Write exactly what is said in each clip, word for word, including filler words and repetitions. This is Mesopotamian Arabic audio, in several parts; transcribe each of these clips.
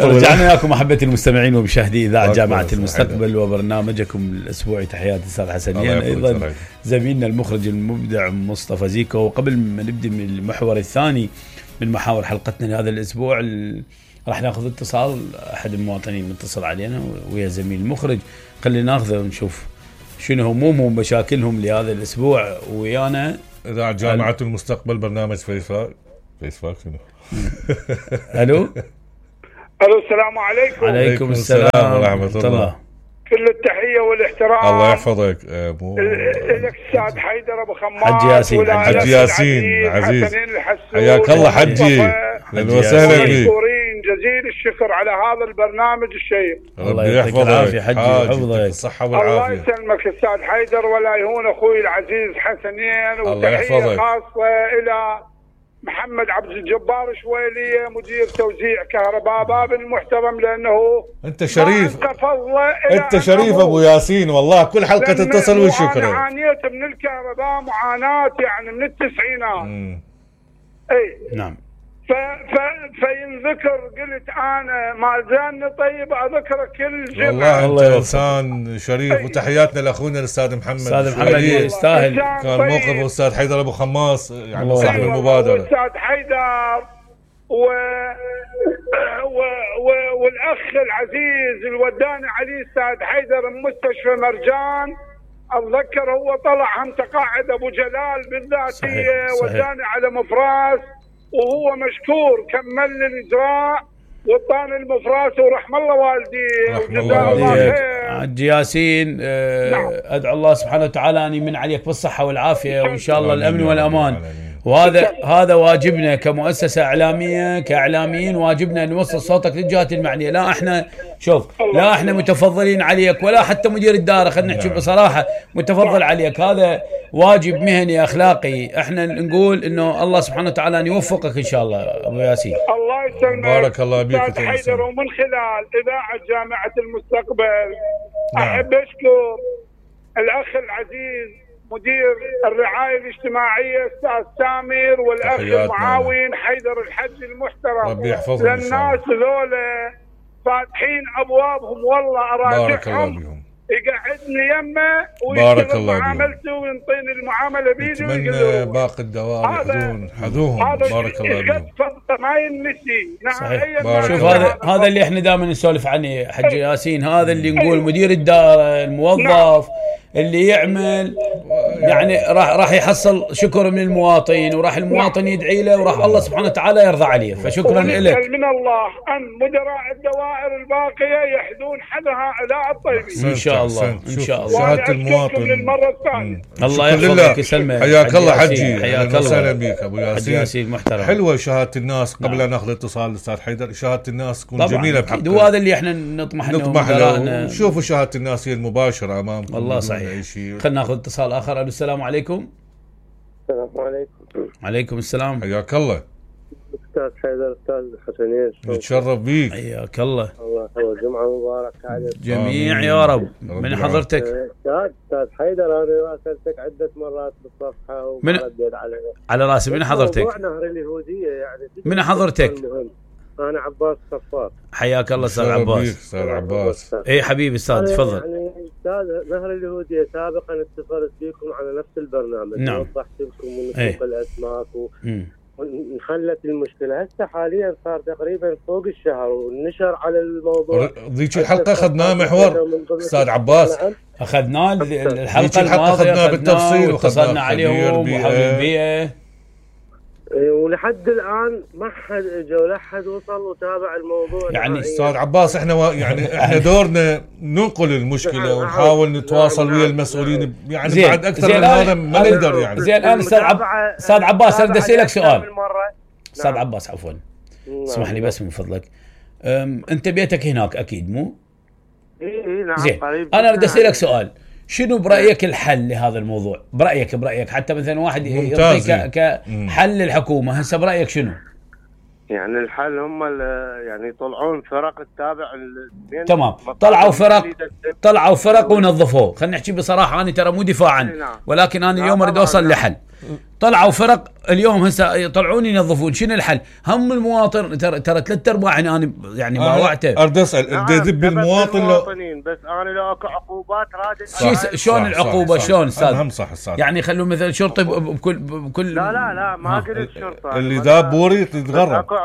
رجعنا لكم احبتي المستمعين ومشاهدي اذاعه جامعه المستقبل وبرنامجكم الاسبوعي. تحياتي استاذ حسنين، ايضا زميلنا المخرج المبدع مصطفى زيكو. وقبل ما نبدا من المحور الثاني من محاور حلقتنا لهذا الاسبوع، راح ناخذ اتصال احد المواطنين متصل علينا ويا زميل المخرج، خلينا ناخذه ونشوف شنو همومهم ومشاكلهم لهذا الاسبوع ويانا. اذاعه جامعه المستقبل برنامج فيسبوك فيسبوك شنو الو الو السلام عليكم. عليكم السلام ورحمه الله. كل التحيه والاحترام. الله يحفظك. مو لك استاذ حيدر ابو خماس، حجي ياسين، حجي ياسين عزيز، حياك الله حجي، اهلا وسهلا بك. مشكورين جزيل الشكر على هذا البرنامج الشيق. الله يحفظك العافيه حجي، يحفظك الصحه والعافيه. الله يسلمك استاذ حيدر ولا يهون اخوي العزيز حسنين. وتحيه خاصه الى محمد عبد الجبار شويلية مدير توزيع كهرباء باب المحترم، لأنه أنت شريف، أنت شريف أبو ياسين والله، كل حلقة تتصل والشكر. أنا عانيت من الكهرباء معاناة يعني من التسعينات. مم. أي نعم. ف ف فينذكر قلت أنا ما زالني طيب أذكر كل جمعة. والله أنت إنسان شريف. وتحياتنا لأخونا الأستاذ محمد. أستاذ محمد يستاهل. كان موقف الأستاذ حيدر أبو خماس يعني صاحب المبادرة. الأستاذ حيدر و... و... و... والأخ العزيز الوداني علي أستاذ حيدر مستشفى مرجان. أتذكر هو طلع هم تقاعد أبو جلال بالذاتية، وداني على مفراس وهو مشكور كمل الإجراء وطان المفراس ورحم الله والديه وجزاه الله خير. حجي ياسين آه نعم. أدعو الله سبحانه وتعالى أن يمن عليك بالصحة والعافية وإن شاء الله الأمن والأمان. وهذا هذا واجبنا كمؤسسة إعلامية كإعلاميين، واجبنا أن نوصل صوتك للجهات المعنية. لا إحنا شوف لا إحنا متفضلين عليك ولا حتى مدير الدائرة، خلينا نحكي بصراحة متفضل عليك، هذا واجب مهني أخلاقي. إحنا نقول إنه الله سبحانه وتعالى أن يوفقك إن شاء الله أبو ياسين. الله يسلمك. بارك الله بك أستاذ حيدر. ومن خلال إذاعة جامعة المستقبل أحب أشكر الأخ العزيز مدير الرعاية الاجتماعية أستاذ سامر والأخ المعاون حيدر الحج المحترم. ربي يحفظهم. للناس ذولا فاتحين أبوابهم والله أراجعهم يقعدني يمه ويشتغل معاملته وينطيني المعاملة بيدي. أتمنى باقي الدوام يحضون حذوهم. بارك الله بهم. ما ينسي. نعم. شوف هذا هذا اللي احنا دائما نسولف عنه حجي ياسين، هذا اللي نقول مدير الدائرة الموظف نعم. اللي يعمل يعني راح راح يحصل شكر من المواطن، وراح المواطن يدعي له، وراح الله سبحانه وتعالى يرضى عليه. فشكرا لك. من الله ان مدراء الدوائر الباقيه يحدون حد هؤلاء الطيبين ان شاء الله. ان شاء الله. شهاده المواطن للمره الثانيه. الله يحفظك ويسلمك. حياك الله حجي، حياك الله وسهلا بك ابو ياسين. حجي ياسين محترم. حلوه شهاده الناس. قبل نعم. ان ناخذ اتصال الاستاذ حيدر، شهاده الناس تكون جميله بحق. وهذا اللي احنا نطمح نطمح له. شوفوا شهاده الناس هي المباشره امامكم. والله صحيح. خلينا ناخذ اتصال اخر. السلام عليكم. السلام عليكم. عليكم السلام. حياك الله استاذ حيدر. استاذ حسنين نتشرف بيك. حياك الله. الله هو جمعه مباركه على جميع يا رب. من حضرتك؟ استاذ استاذ حيدر انا راسلتك عده مرات بالصفحه وما رديت علي. على راسي. من حضرتك؟ موضوع نهر اليهوديه يعني. من حضرتك؟ انا عباس صفار. حياك الله استاذ عباس. استاذ عباس. اي حبيبي استاذ تفضل. يعني استاذ نهر اليهوديه سابقا اتصلت بكم على نفس البرنامج. نعم. وضحت لكم من سوق الاسماك و... انحلت المشكله. هسه حاليا صار تقريبا فوق الشهر ونشر على الموضوع. ذيك الحلقه اخذناه محور استاذ عباس. اخذناه الحلقه الماضيه اخذناه بالتفصيل واتصلنا عليهم وحول البيئه. ولحد الان ما حد اجى ولا حد وصل وتابع الموضوع. يعني استاذ عباس احنا و... يعني احنا دورنا ننقل المشكله ونحاول نتواصل ويا المسؤولين يعني زين. بعد اكثر من هذا ما نقدر يعني. زين الان استاذ عب... استاذ عباس اريد اسالك سؤال. استاذ عباس عفوا اسمح لي بس من فضلك. انت بيتك هناك اكيد مو؟ اي نعم. زين انا اريد اسالك سؤال، شنو برأيك الحل لهذا الموضوع؟ برأيك برأيك حتى مثلا واحد يعطيك كحل للحكومة، هسه برأيك شنو؟ يعني الحل هم يعني يطلعون فرق التابع. تمام. طلعوا فرق طلعوا فرق ونظفوه. خلينا نحكي بصراحة، أنا ترى مو دفاعا ولكن أنا اليوم أريد أوصل لحل. طلعوا فرق اليوم هسه يطلعون ينظفون. شنو الحل؟ هم المواطن ترى ترى ثلاث ارباع يعني يعني باوعته. ارد اسال ارد يذب المواطن لو بس انا لو اكو عقوبات راد شلون العقوبه شلون استاذ؟ هم صح استاذ. يعني يخلون مثلا شرطي بكل بكل لا لا لا ما قلت شرطه اللي ذاب بوري تتغرب. اكو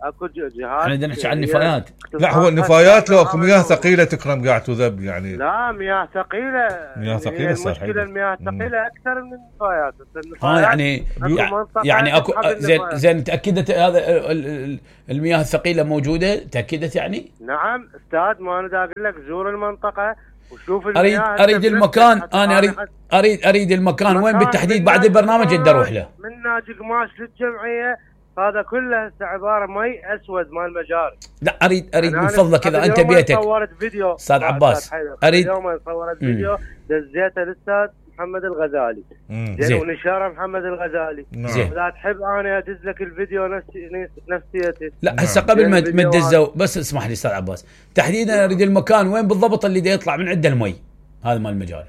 اكو جهات احنا بدنا نحكي عن النفايات. لا هو النفايات لو اكو مياه ثقيله تكرم قاعد تذب يعني. لا مياه ثقيله مياه ثقيله المشكله المياه الثقيله اكثر من النفايات. اه يعني يعني اكو زين زين تاكدت هذا المياه الثقيله موجوده تاكدت يعني؟ نعم استاذ ما انا اقول لك زور المنطقه وشوف اريد اريد المكان انا اريد اريد اريد المكان وين بالتحديد بعد البرنامج اقدر اروح له. من ناجي قماش للجمعيه هذا كله هسه عباره مي اسود مال مجاري. لا اريد اريد من فضلك اذا انت بيتك صورت فيديو استاذ عباس اريد اليوم صورت فيديو دزيته للاستاذ محمد الغزالي زين ونشره محمد الغزالي. زين لا تحب انا ادز لك الفيديو نفسي نفسيتي. لا هسه قبل ما تدزوا بس اسمح لي استاذ عباس تحديدا اريد المكان وين بالضبط اللي دا يطلع من عنده المي هذا مال المجاري.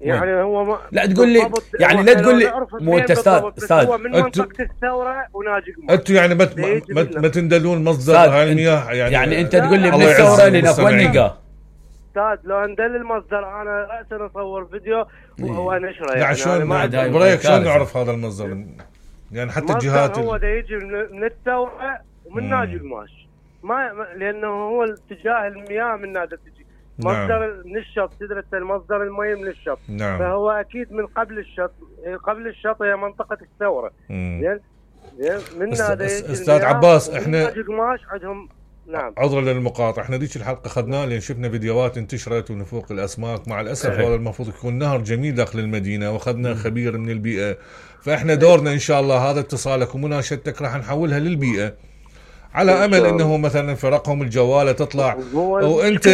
يعني هو ما لا تقول لي يعني لا تقول لي مو انت استاذ استاذ هو من منطقه الثوره وناجي قماش. انتم يعني ما ما تندلون مصدر هاي المياه يعني يعني انت تقول لي من الثوره لهناك وين نلقاه؟ استاذ لو اندل المصدر انا راسا اصور فيديو ونشره يعني شلون برايك شلون نعرف هذا المصدر؟ يعني حتى الجهات هو دا يجي من الثوره ومن ناجي قماش ما لانه هو اتجاه المياه من هذا تجي مصدر من الشط تدري المصدر المي من الشط. نعم. فهو اكيد من قبل الشط قبل الشط هي منطقه الثوره. زين زين من هذا استاذ عباس احنا قماش عندهم. نعم عذرا للمقاطعه احنا ذيك الحلقه اخذناها لان شفنا فيديوهات انتشرت ونفوق الاسماك مع الاسف هذا المفروض يكون نهر جميل داخل المدينه واخذنا خبير من البيئه فاحنا دورنا ان شاء الله هذا اتصالك ومناشدتك راح نحولها للبيئه على امل انه مثلا فرقهم الجواله تطلع وانت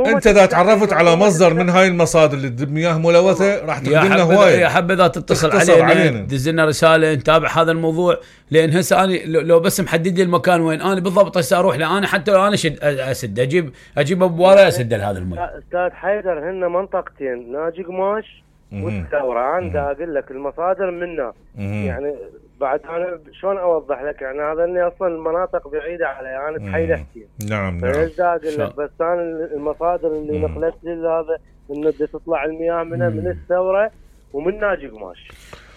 انت اذا تعرفت على مصدر من هاي المصادر اللي تذب مياه ملوثه راح تخدم لنا هوايه. يا حبذا تتصل علينا دز لنا رساله نتابع هذا الموضوع لان هسه انا لو بس محدد لي المكان وين انا بالضبط هسه اروح له انا حتى لو انا شد اسد اجيب اجيب ابواره اسد هذا المي. استاذ حيدر هن منطقتين ناجي قماش والثوره انا اقول لك المصادر منها يعني بعد انا شلون اوضح لك يعني هذا اني اصلا المناطق بعيده علي انا يعني بحي لحتين. نعم نعم فايش اقول لك بس انا المصادر اللي نقلت لي هذا انه تطلع المياه منها من الثوره ومن ناجي قماش.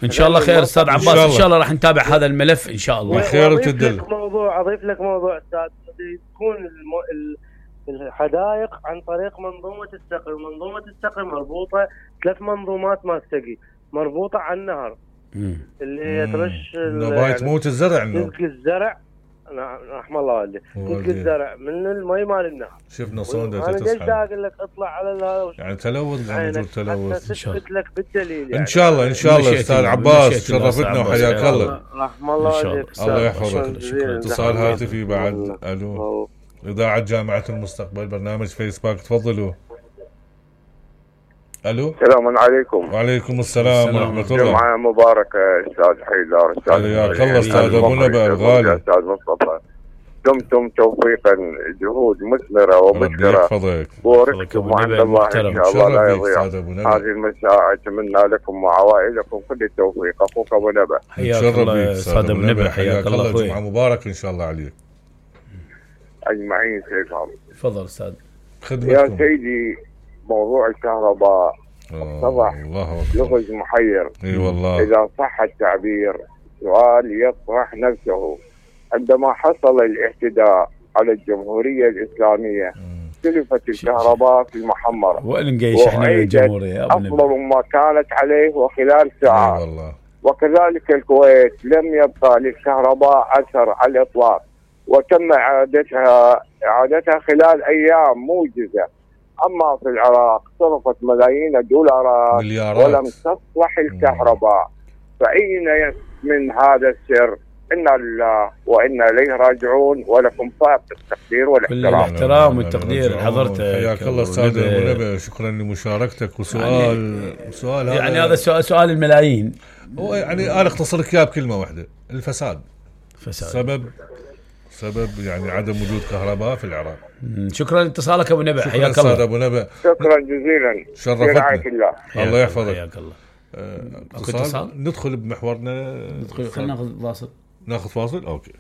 ان شاء الله خير استاذ عباس ان شاء الله راح نتابع هذا الملف ان شاء الله خير وتدل. موضوع اضيف لك موضوع استاذ تكون الم... الحدائق عن طريق منظومه السقي. منظومه السقي مربوطه ثلاث منظومات ما تسقي مربوطه على النهر مم. اللي هي ترش نبات تموت الزرع تلقي الزرع رحم الله والدي تلقي الزرع من المي مال النهر. شفنا صوندة انا ليش اقول لك اطلع على هذا يعني تلوث قاعد نقول تلوث ان شاء الله لك بالدليل يعني. ان شاء الله ان شاء الله استاذ عباس شرفتنا وحياك الله. رحم الله والديك الله يحفظك. اتصال هاتفي بعد. الو اذاعه جامعه المستقبل برنامج فيسبوك تفضلوا. الو السلام عليكم. وعليكم السلام ورحمه الله. جمعه مباركه استاذ حيدر استاذ حياك الله استاذ ابو نبأ الغالي استاذ مصطفى دمتم توفيقا جهود مثمره ومشكره ربي يحفظك وورثكم وعند الله ان شاء الله لا يضيع. هذه المساء اتمنى لكم وعوائلكم كل التوفيق. اخوك ابو نبأ. حياك الله استاذ ابو نبأ حياك الله اخوي. جمعه مبارك ان شاء الله عليك اجمعين. سيدهم تفضل استاذ خدمتكم. يا سيدي موضوع الكهرباء اتضح لغز محير. اي والله اذا صح التعبير. سؤال يطرح نفسه عندما حصل الاعتداء على الجمهوريه الاسلاميه سلفت الكهرباء في المحمره وين نقيش احنا من الجمهوريه افضل ما كانت عليه وخلال ساعات. والله وكذلك الكويت لم يبقى للكهرباء اثر على الاطلاق وتم اعادتها اعادتها خلال ايام موجزه. اما في العراق صرفت ملايين الدولارات مليارات ولم تصلح الكهرباء. فاين من هذا السر؟ إنا لله وإنا إليه راجعون ولكم فائق التقدير والاحترام. كل الاحترام والتقدير حضرتك. حياك الله استاذ ابو نبأ شكرا لمشاركتك. وسؤال يعني سؤال هذا يعني هذا سؤال سؤال الملايين. هو يعني انا اختصر لك اياه بكلمه واحده الفساد. فساد سبب سبب يعني عدم وجود كهرباء في العراق. شكرا لاتصالك ابو نبأ حياك الله. شكرا ابو نبأ شكرا جزيلا شرفتنا. الله الله يحفظك. حياك الله. آه اتصال؟ ندخل بمحورنا. ندخل، خلينا ناخذ فاصل. ناخذ فاصل اوكي.